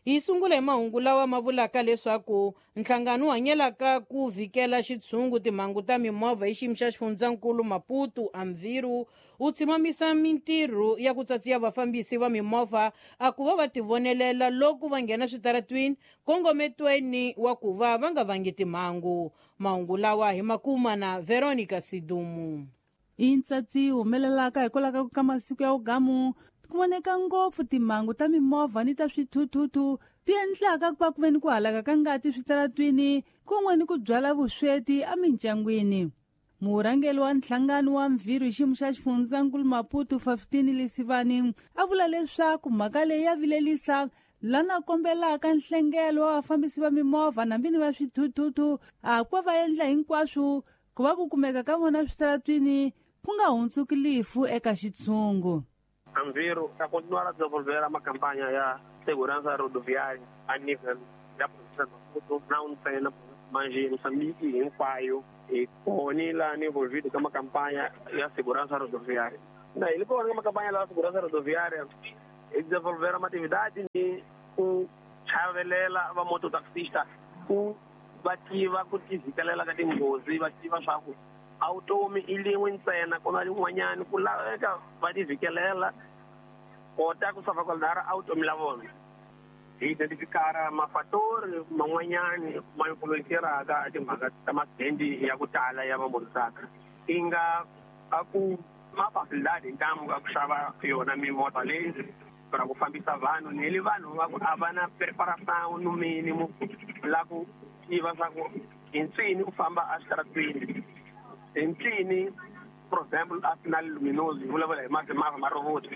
Hi sungula hi mahungu lawa ma vulaka leswaku nhlangano wu hanyelaka ku vhikela xitshungu timhangu ta mimovha hi xiyimo xa xifundzankulu Maputo Amviru wu tshimamisa mintirho ya ku tsatsiya vafambisi va mimovha a ku va va tivonelela loko va nghena switaratwini kongometweni wa ku va va nga vangi timhangu. Mahungu lawa hi makuma na Veronica Sidumu. I ntsatsi humelelaka hikwalaho ka masiku ya ugamu ku voneka ngopfu timhangu ta mimovha ni ta swithuthuthu ti endlaka ku va ku ve ni ku halaka ka ngati switaratwini kun'we ni ku byala vusweti emindyangwini. Murhangeri wa nhlangano wa mvhirhu hi xiyimo xa xifundzankulu Maputo 15 Lesivani a vula leswaku mhaka leyi ya vilelisa lana kombelaka nhlengelo wa vafambisi va mimovha nambi ni va swithuthuthu a ku va va endla hinkwaswo ku va ku kumeka ka vona switaratwini ku nga hundzuki lifu eka xitshungu. Anviro está a continuar a desenvolver uma campanha ya segurança rodoviária a nível da província de Maputo, não ntsena mas em Moçambique hinkwayo hi kona laha ni envolvido ka makampanha ya segurança rodoviária. Na ele kona ka makampanha la segurança rodoviária hi desenvolver uma atividade ni ku chavelela va mototaxista ku va tiva ku tivhikelela ka tinghozi, va tiva swa ku a vutomi i lin'we ntsena ku na lin'wanyani ku laveka va tivhikelela kota ku salvaguardar a vutomi la vona. Hi identifikara mafatori man'wanyani ma influenceraka timhaka ta maaksidenti ya ku tala ya vamototaxi i nga a ku ma facilidade hintamu ka ku xava yona mimovha leyi ra ku fambisa vanhu ni le vanhu va ku a va na preparação no mínimo la ku tiva swa ku hi ncini u famba eswitaratwini hi ncini, for example a sinal luminoso hi vulavula hi mavha ma robot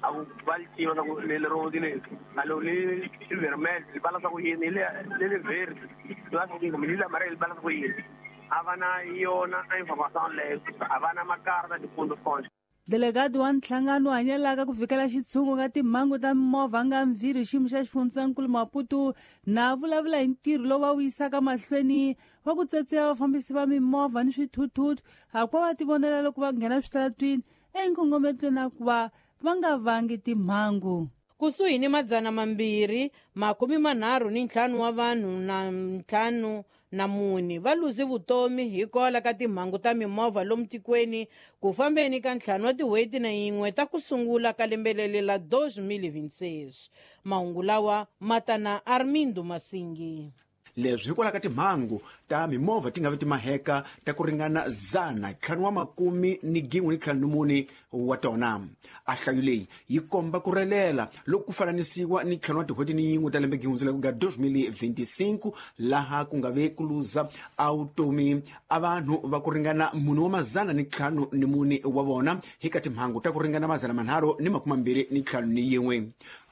a ku va li tiva swa ku leli robot leri a lo li vermelho li bala swa ku yini leli verde li bala swa ku yini kumbe leli amarelo li bala swa ku yini. A va na yona information leyo, a va na makarta de condução. Delegado wa nhlangano hanyelaka ku vhikela xitshungu ka timhangu ta mimovha nga mvhirhu hi xiyimo xa xifundzankulu Maputo na vulavula hi ntirho lowu va wu yisaka mahlweni wa ku tsetseya vafambisi va mimovha ni swithuthuthu hakuva va tivonela loko va nghena switaratwini enkongometweni na ku va va nga vangi timhangu. Kusuhi ni 235 wa vanhu na 54 va luze vutomi hikwalaho ka timhangu ta mimovha lomu tikweni ku fambeni ka 5 wa tin'hweti na yin'we ta ku sungula ka lembe leri la 2026. Mahungu lawa ma ta na Armindo Masingi. Leswi hikwalaho ka timhangu ta mimovha ti nga vi timaheka ta ku ringana 514 wa tona. A hlayo leyi yi komba ku relela loko ku fananisiwa ni 5 wa tin'hweti ni yin'we ta lembe gihundzela ku nga 2025 laha ku nga ve ku luza a vutomi a vanhu va ku ringana 404 wa vona hi ka timhangu ta ku ringana 321.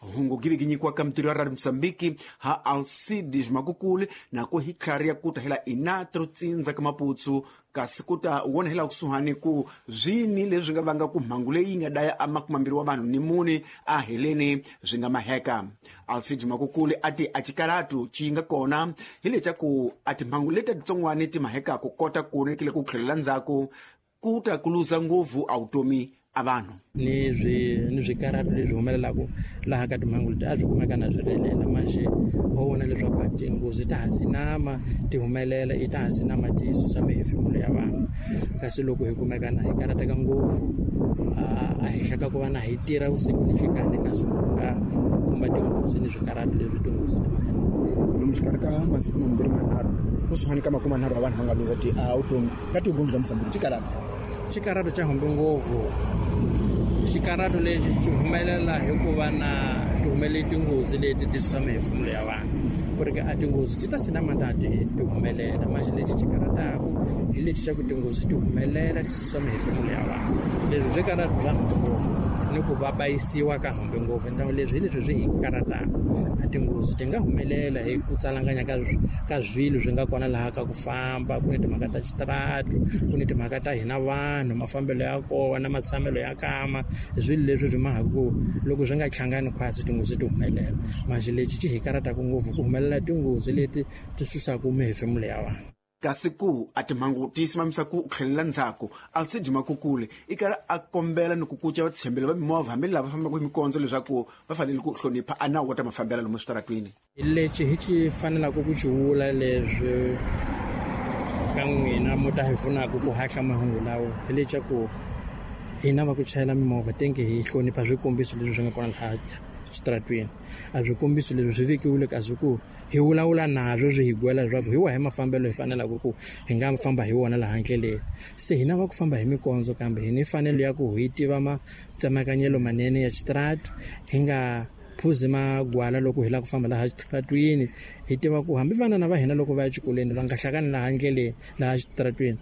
Hungu giviki nyikiwaka mitirho ya Radio Mozambique ha Alcides Makukuli na ku hi tlhari ya kuta hela inatro tsindza ka Maputsu kasi ku ta wona hela kusuhani ku swini leswi nga vanga ku mhangu leyi nga daya a 20 wa vanhu ni mune a heleni swi nga maheka. Alcides Makukuli a ti a xikaratu xi nga kona hi lexa ku a timhangu leti titsongwani ti maheka ku kota ku nekile ku tlhelela ndzhaku ku ta ku luza ngopfu a vutomi a vanhu. Ni swikaratu leswi humelelaka laha ka timhangu leti a swi kumeka na swi relela manjhe ho vona leswaku tinghozi ta ha sinama ti humelela i ta ha sinama ti susa mihefemulo ya vanhu kasi loko hi kumeka na hi karateka ngopfu a henhla ka ku va na hi tirha vusiku ni nhlikani kasi ku nga kumba tinghozi ni swikaratu leswi tinghozi ti mahela. Lomu xikarhi ka masiku mambirhi manharhu kusuhani ka 30 wa vanhu va nga luza ti a vutomi ka tinghozi ta Mozambique xikaratu. Xikaratu xa humbe ngopfu. Xikaratu lexi xi humelela hikuva na ti humelele tinghozi leti ti susa mihefemulo ya vanhu ku ri a tinghozi ti ta sinama ta ti humelela manjhe lexi xi karataku hi lexi xa ku tinghozi ti humelela ti susa mihefemulo ya vanhu leswi swi karatu bya humbe ngopfu ni ku va bayisiwa ka humbe ngopfu ntangu leswi hi leswi swi hi karataku a tinghozi ti nga humelela hi ku tsalanganya ka swilo swi nga kona laha ka ku famba ku ni timhaka ta xitaratu ku ni timhaka ta hina vanhu mafambelo ya kona matshamelo ya kama swilo leswi swi mahaka ku loko swi nga hlangani khwatsi tinghozi ti humelela manjhe lexi xi hi karataku ngopfu ku humelela tinghozi leti ti susaka mihefemulo ya vanhu. Kasi ku a timhangu ti simamisa ku tlhelela ndzhaku, Alcide Makukule i karhi a kombela ni ku kuca vatshembeli va mimovha hambi lava fambaka hi mikondzo leswaku va fanele ku hlonipha a nawu wa ta mafambela lomu switaratwini. Lexi hi xi fanelaka ku xi vula leswi ka n'wina mo ta hi pfunaka ku haxa mahungu lawa hi leswaku hina va ku chayela mimovha tenge hi hlonipha swikombiso leswi swi nga kona laha xitaratwini. A swikombiso leswi swi vekiwile kasi ku hi vulavula nazwo swi hi gwela leswaku hi wahi mafambelo hi fanelaka ku hi nga famba hi wona laha ndleleni. Se hina va ku famba hi mikondzo kambe hi ni fanelo ya ku hi tiva matsemakanyelo manene ya xitarati, hi nga phuzi magwala loko hi lava ku famba laha xitaratwini. Hi tiva ku hambi vana va hina loko va ya exikolweni va nga hlangani laha ndleleni laha xitaratwini,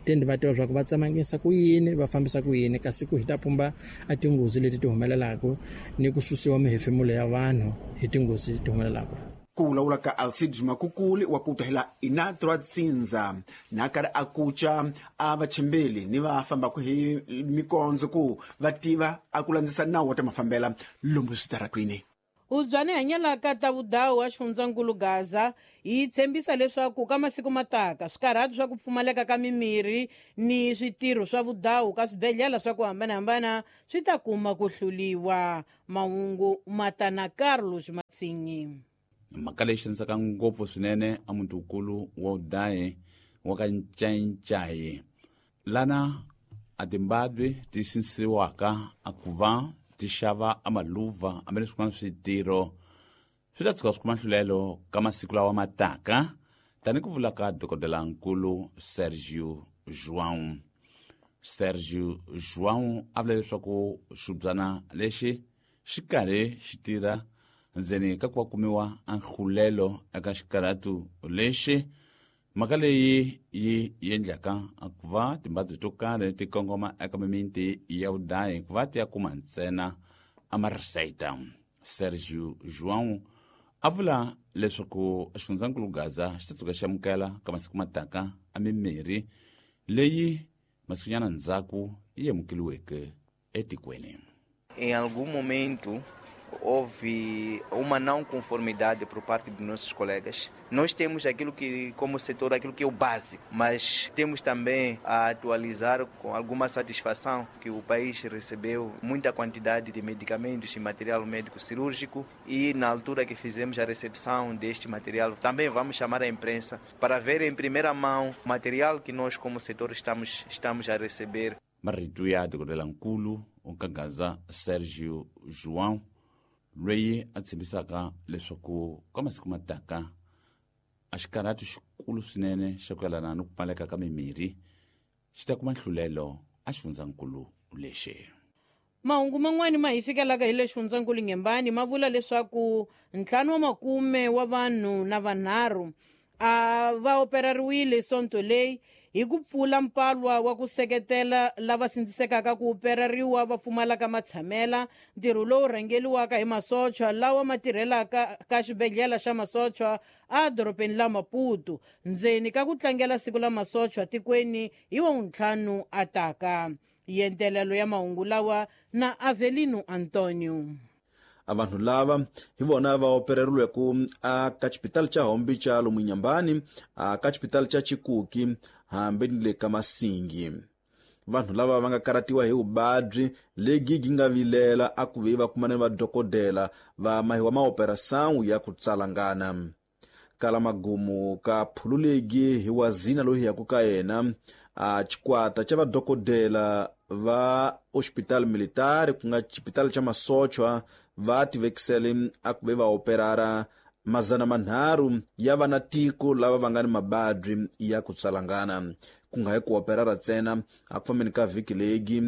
tende va tiva leswaku va tsemangisa ku yini, va fambisa ku yini, kasi ku hi ta pumba a tinghozi leti ti humelelaka ni ku susiwa mihefemulo ya vanhu hi tinghozi ti humelelaka. Ku vulavula ka Alcide Makukuli wa ku tahela Inatra Tsindza na karhi a kuca a vachembeli ni va fambaka hi mikondzo ku va tiva a ku landzisa nawu wa ta mafambela lomu switaratwini. Ubyani hanyelaka ta vudawu wa xifundzankulu Gaza yi tshembisa leswaku ka masiku mataka swikarhati swa ku pfumaleka ka mimirhi ni switirho swa vudawu ka swibedhlele swa ku hambanahambana swi ta kuma ku hluliwa. Mahungu matana Carlos Matsinyi. Mhaka leyi xanisaka ngopfu swinene a muti-nkulu wa udayi wa ka Ncayicayi, lana a timbabyi ti sinsiwaka a ku va ti xava a maluva hambi leswi swin'wana switirho swi ta tshuka swi kuma nhlulelo ka masiku lawa ma taka, tani ku vula ka dokodelankulu Sergio João. Sergio João a vula leswaku xibyana lexi xi karhi xi tirha ndzeni ka ku va kumiwa a nhlulelo eka xikarhatu lexi. Mhaka leyi yi endlaka ku va timbabyi to karhi ti kongoma eka mimiti ya vudayi ku va ti ya kuma ntsena a marisayita. Sergio João a vula leswaku xifundzankulu Gaza xi ta tshuka xi amukela ka masiku mataka a mimirhi leyi masikunyana ndzhaku yi amukeliweke etikweni. Em algum momento houve uma não conformidade por parte dos nossos colegas. Nós temos aquilo que, como setor, aquilo que é o básico, mas temos também a atualizar com alguma satisfação que o país recebeu muita quantidade de medicamentos e material médico cirúrgico e na altura que fizemos a recepção deste material, também vamos chamar a imprensa para ver em primeira mão o material que nós como setor estamos a receber. Marito ya dokodelankulu wa ka Gaza Sergio João loyi a tshembisaka leswaku ka masiku mataka a xikarhatu xikulu swinene xa ku yelana ni ku pfaleka ka mimirhi xi ta kuma nhlulelo a xifundzankulu lexi. Mahungu man'wani ma hi fikelaka hi le xifundzankulu Nyembani ma vula leswaku 50 wa vanhu na vanharhu a va operariwile sonto leyi hi ku pfula mpalwa wa ku seketela lava sindzisekaka ku operariwa va pfumalaka matshamela, ntirho lowu rhangeliwaka hi masochwa lawa ma tirhelaka ka xibedhlele xa masochwa a dorobeni la Maputo ndzeni ka ku tlangela siku la masochwa tikweni hi wa 5 ataka. Yentelelo ya mahungu lawa na Avelino Antonio. A vanhu lava hi vona va opereriweke a ka xipitali xa Hombi xa lomu Nyambani, a ka xipitali xa Chikuki hambi ni le ka Masingi. Vanhu lava va nga karatiwa hi vuvabyi lebyi byi nga vilela a ku ve va kumana ni vadokodela va mahiwa maoperação ya ku tsalangana. Kala magumu ka phululegi hi wazina loyi yaku ka yena a xikwata xa vadokodela va hospital militar ku nga xipitali xa masochwa va tivekisele a ku ve va operara 300 ya vana tiko lava va nga ni mabadyi ya ku tsalangana. Ku nga hi ku operara ntsena a ku fambeni ka vhiki legi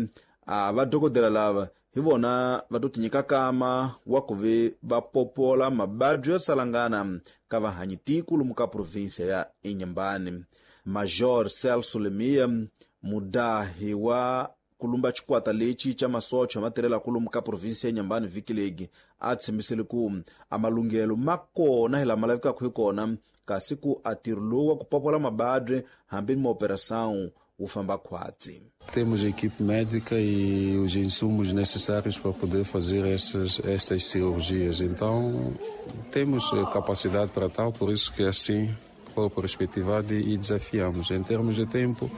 a vadokodela lava hi vona va to tinyika kama wa ku ve va popola mabadyi yo tsalangana ka vahanyi tiko lomu ka provinsia ya Inhambane. Major Celso Lemia, mudahi wa kulumba xikwata lexi xa masocha ma tirhelaka lomu ka provinsia ya Inhambane vhiki legi a tshembisile ku a malunghelo ma kona hi lama lavekaka hi kona, kasi ku a ntirho lowu wa ku popola mabadyi hambi ni maoperação wu famba khwatsi. Temos a equipe médica e os insumos necessários para poder fazer estas cirurgias. Então, temos capacidade para tal, por isso que assim for perspectivado e desafiamos. Em termos de tempo,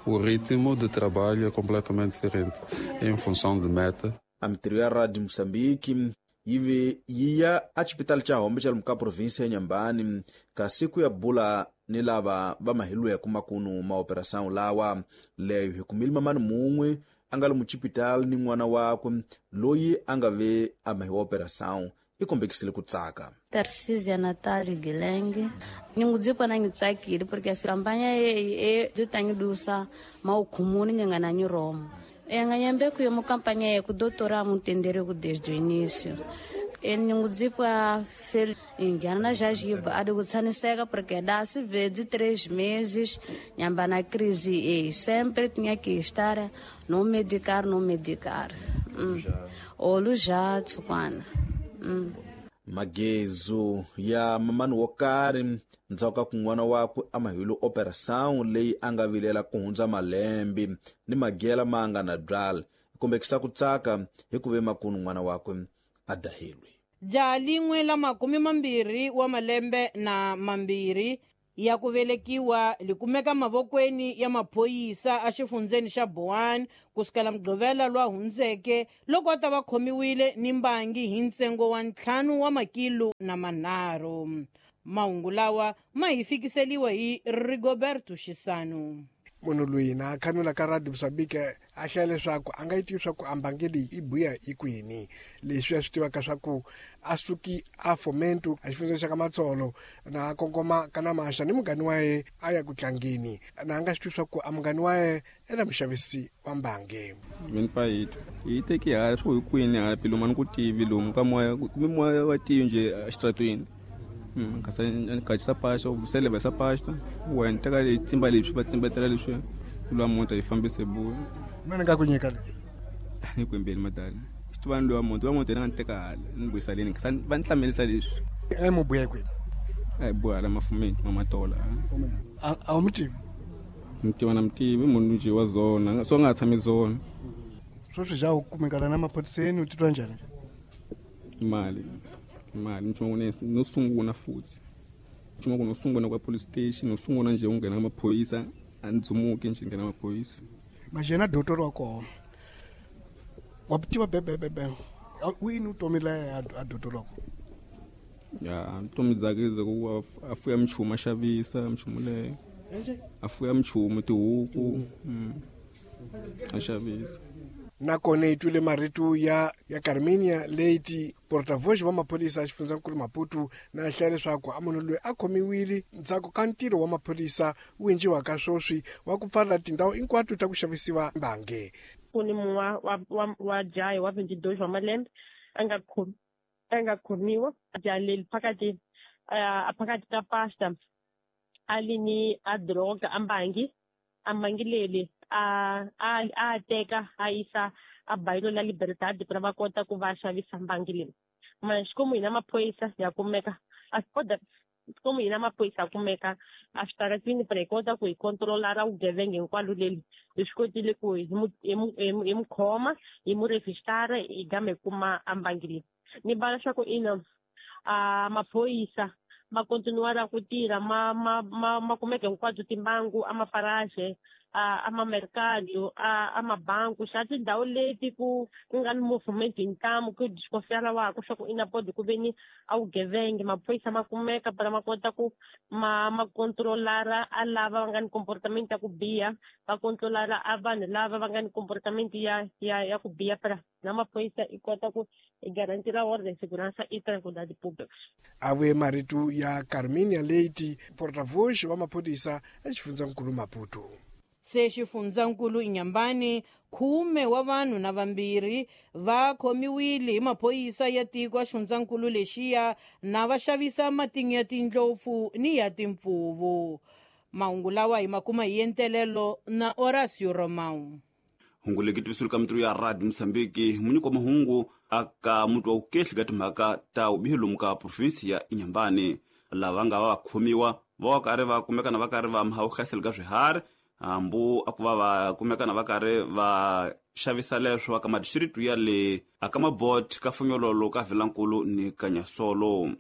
o ritmo de trabalho é completamente diferente, em função de meta. A mintirho ya Radio Moçambique yi ve yi ya exipitali xa Hombe xa lomu ka provinsi ya Inhambane, kasi ku ya bula ni lava va mahilweke makunu ma operação lawa. Leyo hi kumile mamani mun'we a nga lomu xipitali ni n'wana wakwe loyi a nga ve a mahiwa operação, i kombekisile ku tsaka. Tarcísia Natália Guilherme, ningudzikwa na ngitsakile porque a campanha e dutangidusa maukhumuni nyangana ni Roma. Enganyambe ku yo campanha e ku doutora mutendere ku desde o início. Ningudzikwa fel ingana já jiba a de kutsaniseka porque dá se vê de 3 meses nyamba na crise e sempre tinha que estar no medicar no medicar. Olu já tsukwana. Magezu ya mamani wo karhi ndzhaku ka ku n'wana wakwe a mahile operação leyi a nga vilela ku hundza malembe ni magela ma nga na byala, kombekisa ku tsaka hi ku ve makunu n'wana wakwe a dahilwe. Jaha lin'we la 22 wa malembe na 2 ya ku velekiwa likumeka mavokweni ya maphorisa exifundzeni xa Boane kusukela Mugqivela lwa hundzeke loko a ta va khomiwile ni mbangi hi ntsengo wa 5 wa makilo na 3. Mahungu lawa ma hi fikiseliwa hi Rigoberto Xisano. Munhu loyi na khanula ka Radio Moçambique a hlaya leswaku a nga yi tivi swa ku a mbangi leyi i buya hi kwini. Leswi a swi tivaka swa ku a suki a Fomento a xifundzeni xa ka Matsolo na kongoma ka Namasha ni mungani wa ye a ya ku tlangeni, na a nga swi tivi swa ku a mungani wa ye i na muxavisi wa mbangi. Mina payito hi teki hala swo hi kwini hala piluma ni ku tivi lomu ka moya kumbe moya wa tivi nje exitratweni. Khatisa pasta u seleva pasta wena teka tsimba leswi va tsimbetela leswi lwa mota yi fambise buya. Mina nga ku nyika le ni kwembeli madala xi tiva ni lwa mota wa mota yena nga ni teka hala ni vuyisa leni va ni hlamelisa leswi. E mu buya kwini? A hi buya hala mafumeni mamatola. A wu mi tivi? Mi tiva na mi tivi munhu nje wa zona so nga tshami zona. Sweswi ja u kumekana na maphoriseni u titwa njhani? Mali nchumu no sungula futhi nchumu no sungula kwa police station no sungula nje u nghena maphorisa a ndzumuki nje nghena maphorisa. Majena doctor wa kona wa tiva bebebebe wini u tomile a doctor wa kona? Ya ntomi dzake ku a fuya mchumu a xavisa mchumu leyo a fuya mchumu tihuku a xavisa. Nakona hi twile marito ya Carminia Leite, portavoz wa maphorisa a xifundzankulu Maputo, na hlaya leswaku a munhu loyi a khomiwile ndzhaku ka ntirho wa maphorisa wu endliwaka sweswi wa ku pfalela tindhawu hinkwato ta ku xavisiwa mbangi. Ku ni mun'we wa jaha wa 22 wa malembe a nga khomiwa jaha leri phakathi ka pasta a li ni a droga a mbangi leri a teka a yisa a bayilo la Libertad para va kota ku va xavisa mbangi leyi. Xikwembu hina maphorisa ya kumeka xikwembu hina maphorisa ya kumeka a switaratini para hi kota ku hi controlara vugevenga hinkwalo leli. Hi swi kotile ku hi mu khoma hi mu rejistara hi gama hi kuma a mbangi leyi. Ni vala swa ku ina maphorisa ma continuara ku tirha ma kumeka hinkwato timbangu a maparaje a mamercado a mabanku xa tindhawu leti ku nga ni movement hi ntamu ku desconfiara waku swa ku ina podi ku ve ni a vugevenga maphorisa ma kumeka para ma kota ku ma controlara a lava va nga ni comportament ya ku biha va controlara a vanhu lava va nga ni comportament ya ku biha para na maphorisa i kota ku i garantira ordem segurança e tranquilidade pública. A vuye marito ya Carminia Leite, portavoz wa maphorisa exifundzankulu Maputo. Se xifundzankulu Inhambane 10 wa vanhu na 2 va khomiwile hi maphorisa ya tiko a xifundzankulu lexiya na va xavisa matinyo ya tindlopfu ni ya timpfuvu. Mahungu lawa hi makuma hi entelelo na Horacio Romão. Hungu leki tivisulu ka mitirho ya Radio Moçambique munyiko wa mahungu aka mutu wa ukehli ka timhaka ta vubihi lomu ka provinsi ya Inhambane. Lava nga va khomiwa va karhi va kumekana va karhi va mahawuhlaselo ka swiharhi hambu a ku va va kumekana va karhi va xavisa leswo aka madistritu ya le aka Mabot ka Fonyololo ka Vilankulu ni Kanyasolo.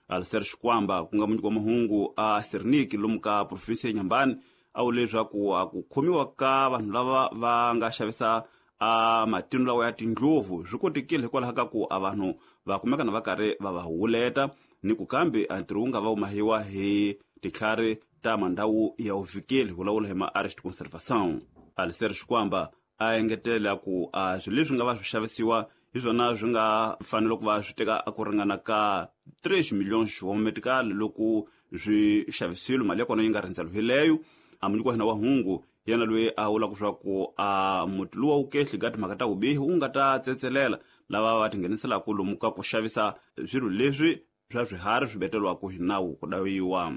Alicer Xikwamba ku nga munyiki wa mahungu a Serniki lomu ka provinsi ya Inhambane a vule leswaku a ku khomiwa ka vanhu lava va nga xavisa a matino lawa ya tindluvu swi kotekile hikwalaho ka ku a vanhu va kumeka na va karhi va va huleta ni ku kambe a ntirho wu nga va wu mahiwa hi titlhari ta mandhawu ya uvikeli vulavula hi ma-arrest conservation. Alicer Xikwamba a engetela ku a swilo leswi nga va swi xavisiwa hi swona swi nga fanele ku va swi teka a ku ringana ka 3 milhões wa medical loko swi xavisiwile, mali ya kona yi nga rindzelohileyo. A munyiki wa hina wa hungu yena loyi a vulaka leswaku a muti luwa wu kehli ka timhaka ta vubihi wu nga ta tsetselela lava va tingheniselaka lomu ka ku xavisa swilo leswi swa swiharhi swi beteriwaka hi nawu ku dawiwa.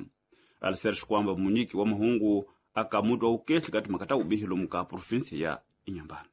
Alicer Xikwamba munyiki wa mahungu aka muti wa wukehli ka timhaka ta vubihi lomu ka provinsi ya Inhambane.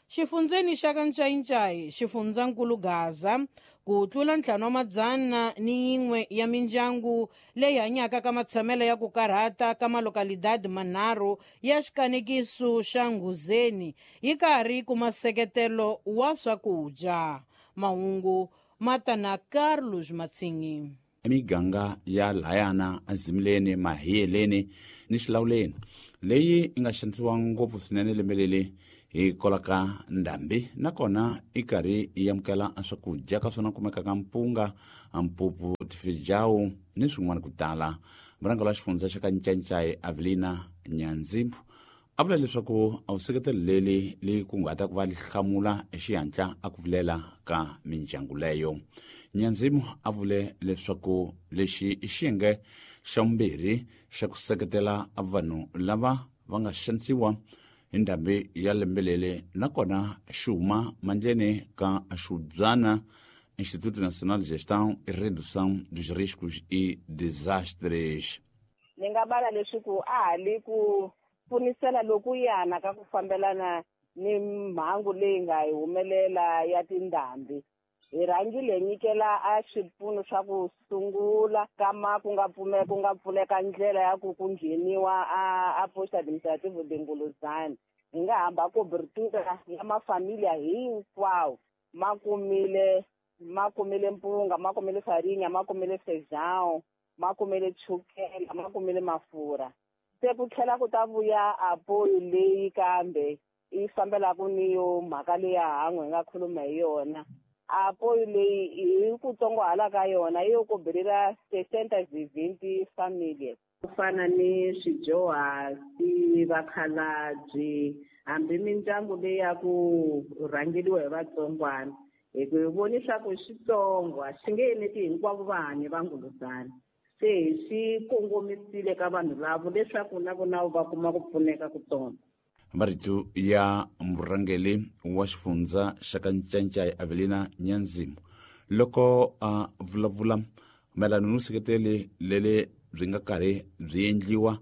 Xifundzeni xa ka Ncayincai, xifundzankulu Gaza, ku tlula 501 ya mindyangu leyi hanyaka ka matshamelo ya ku karhata ka malokalidadi manharhu ya xikanekiso xa Nghuzeni yi karhi kuma nseketelo wa swakudya. Mahungu ma ta na Carlos Matsingi. Emiganga ya layana azimileni mahiyeleni ni xilawuleni leyi yi nga xanisiwa ngopfu swinene lembe leri hi kolaka ndhambi, nakona i karhi yi amukela swakudya ka swona kumekaka mpunga, mpupu, tifejawu ni swin'wana ku tala. Murhangeri wa xifundza xa ka Ncancai Avelina Nyanzimbu a vula leswaku a vuseketelo leri li kunguhata ku va li hlamula hi xihatla a ku vilela ka mindyangu leyo. Nyanzimu a vule leswaku lexi i xiyenge xa vumbirhi xa ku seketela vanhu lava va nga xanisiwa hi ndhambi ya lembe leri, nakona xi huma mandleni ka Xubyana Instituto Nacional de Gestão e Redução dos Riscos e Desastres. Ni nga bala leswaku a ha li ku pfunisela loku yana ka ku fambelana ni mhangu leyi nga hi humelela ya tindhambi. Hi rhangile hi nyikela a swipfuno swa ku sungula kama ku nga ku nga pfuleka ndlela ya ku ku ngheniwa a posto administrativo de Nguluzana. Hi nga hamba cobertura ya mafamilia hinkwawo ma kumile mpunga, ma kumile farinha, ma kumile feijão, ma kumile chukela, ma kumile mafurha. Se ku tlhela ku ta vuya apoyo leyi kambe yi fambelaka ni yo mhaka leya han'we hi nga khuluma hi yona. Apoyo leyi hi ku tsongohala ka yona yi yo kobelela 620 famílias. Ku fana ni swidyuhari, vakhalabye, hambi mindyangu leyi ya ku rhangeriwa hi vatsongwana. Hi ku hi voni swa ku xitsongo a xi nge eneti hinkwavo vahanyi va Nguluzana. Se hi swi kongomisile ka vanhu lavo leswaku na vona va kuma ku pfuneka kutsongo. Marito ya murhangeri wa xifundza xa ka Ncancai Avelina Nyanzimu loko a vulavula mayelana ni vuseketeli leri byi nga karhi byi endliwa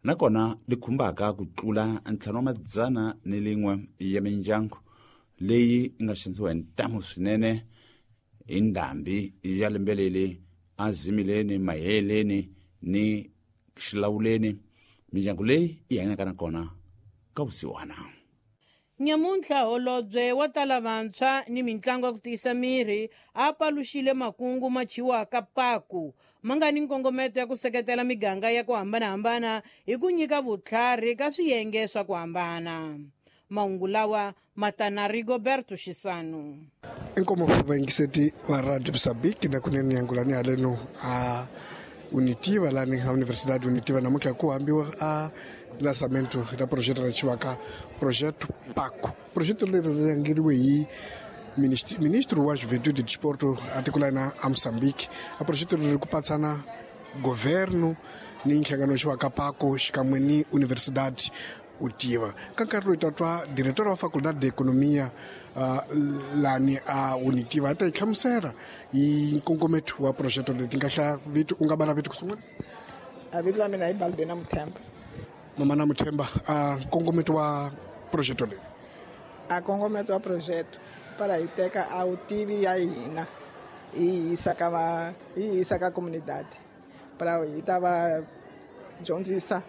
nakona li khumbaka ku tlula 501 ya mindyangu leyi yi nga xanisiwa hi ntamu swinene hi ndhambi ya lembe leri azimileni, maheleni ni xilawuleni. Mindyangu leyi yi hanyaka nakona ka vusiwana. Nyamuntlha holobye wa tala vantshwa ni mitlangu ya ku tiyisa miri a paluxile makungu ma chiwaka paku ma nga ni nkongometo ya ku seketela miganga ya ku hambanahambana hi ku nyika vutlhari ka swiyenge swa ku hambana. Mahungu lawa ma ta na Rigoberto Xisano. Inkomo vayingiseti va Radio Moçambique na kunene yangulani haleno a Unitiva lani a Universidade Unitiva namuntlha ku hambiwa a lançamento da projeto ra chiwaka projeto PACO. Projeto leri ri rhangeriwe hi ministro wa Juventude e Desporto a tiko la hina a Moçambique. A projeto leri ku patsana governo ni nhlangano xiwaka PACO xikan'we ni Universidade Utiva. Ka nkarhi loyi ta twa diretor wa Faculdade de Economia lani a Unitiva a ta yi hlamusela hi nkongometo wa projeto leti nga hlaya vito u nga bala vito ku sungula. A vito la mina i Balbena Muthemba. Mama na Muthemba, a nkongometo wa projeto leyi. A nkongometo wa projeto para hi teka a vutivi ya hina hi yisa ka va hi yisa ka comunidade para hi ta va dyondzisa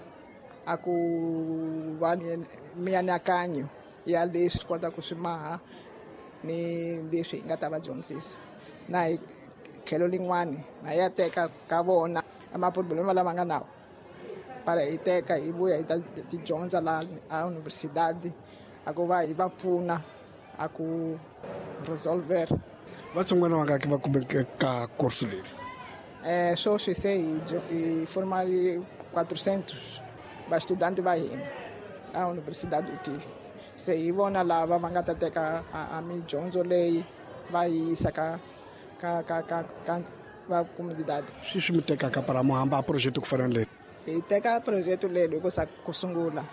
a ku va ni mianakanyo ya leswi kota ku swi maha ni leswi hi nga ta va dyondzisa na hi tlhelo lin'wani na ya teka ka vona a maproblema lama nga nawo para hi teka hi vuya hi ta ti dyondza la a universidade a ku va hi va pfuna a ku resolver. Vatsongwana vangaki va kumeke ka kursu leri? Sweswi se hi formali 400 vastudanti va hina a universidade UTIVI. Se hi vona lava va nga ta teka a midyondzo leyi va yi yisa ka ka ka ka ka va comunidade. Swi mi tekaka para mo hamba a project ku fana na leyi? Hi teka project leyi loko sa ku sungula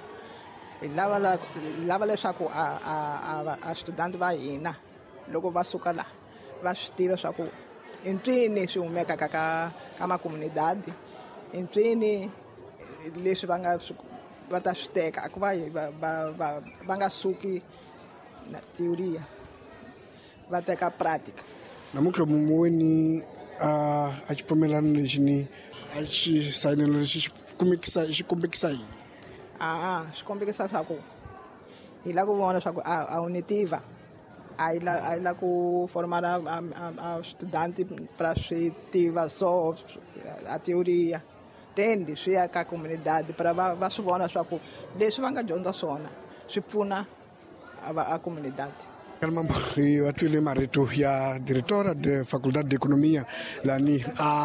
hi lava leswaku a student va hina loko va suka la va swi tiva swa ku i mpfini swi humekaka ka makomunidadi, i mpfini leswi va nga va ta swi teka a ku va va nga suki na teoria va teka pratica. Namuntlha muweni a xipfumelano lexi ni a xi sayinelo lexi xi kombekisa yini? Swi kombekisa swa ku hi lava ku vona swa ku a wu ni tiva a yi la ku formala a studante para swi tiva so a teoria tendi swi ya ka comunidade para va swi vona swa ku leswi va nga dyondza swona swi pfuna a comunidade. Mambo va twile marito ya diretora de Faculdade de Economia lani a